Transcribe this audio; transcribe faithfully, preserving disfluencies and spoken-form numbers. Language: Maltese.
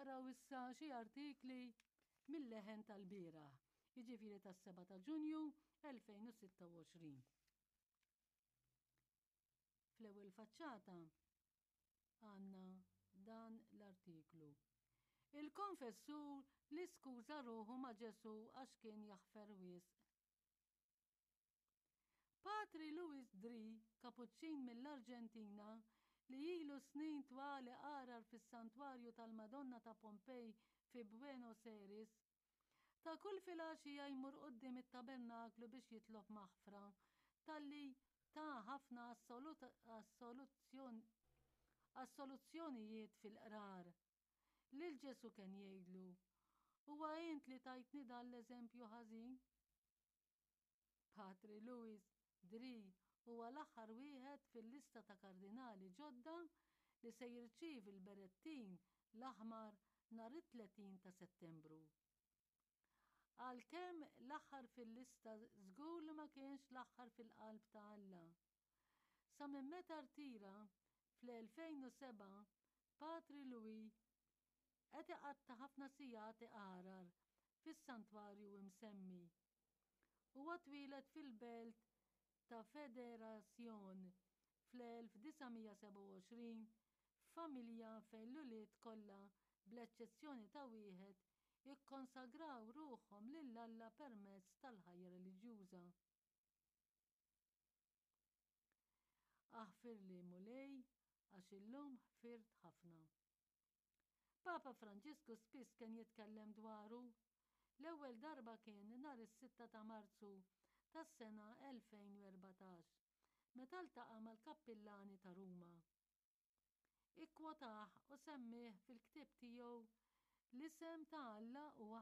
Naqraw issa xi artikli mill-Leħen tal-bieraħ, jiġifieri tas-sebgħa ta' Ġunju elfejn u sitta u għoxrin. Fl-ewwel faċċata għandna dan l-artiklu. Il-konfessur li skuża ruħu ma' Ġesu għax kien jaħfer wisq. Patri Luis Dri, kapuċċin mill-Arġentina, li ilu snin twali iqarar fis-santwarju tal-Madonna ta' Pompej fi Buenos Aires, ta' kull filgħaxija jmur quddiem it-tabernaklu biex jitlob maħfra talli ta' ħafna assoluzzjonijiet fil-qrar. Lil Ġesu kien jgħidlu, "Huwa int li tajtni dan l-eżempju ħażin?" Patri Luis Dri huwa l-aħħar wieħed fil-lista ta' kardinali ġodda li se jirċievi l-berettin l-aħmar nhar it-tletin ta' Settembru. Għalkemm l-aħħar fil-lista, żgur li ma kienx l-aħħar fil-qalb ta' Alla. Sa minn meta rtira fl-elfejn u sebgħa, Patri Louis qed iqatta' ħafna sigħat iqarar fis-santwarju imsemmi. Huwa twieled fil-belt ta' Federazzjon fl-elf disa' mija sebgħa u għoxrin f'familja fejn l-ulied kollha, bl-eċċezzjoni ta' wieħed, ikkonsagraw ruħhom lil Alla permezz tal-ħajja reliġjuża. Aħfirli, Mulej, għax illum ħfirt ħafna. Papa Franġisku spiss kien jitkellem dwaru. L-ewwel darba kien nhar is-sitta ta' Marzu tas-sena elfejn u erbatax, meta ltaqa' mal-kappillani ta' Ruma. Ikkwotah u semmih fil-ktieb tiegħu L-Isem ta' Alla huwa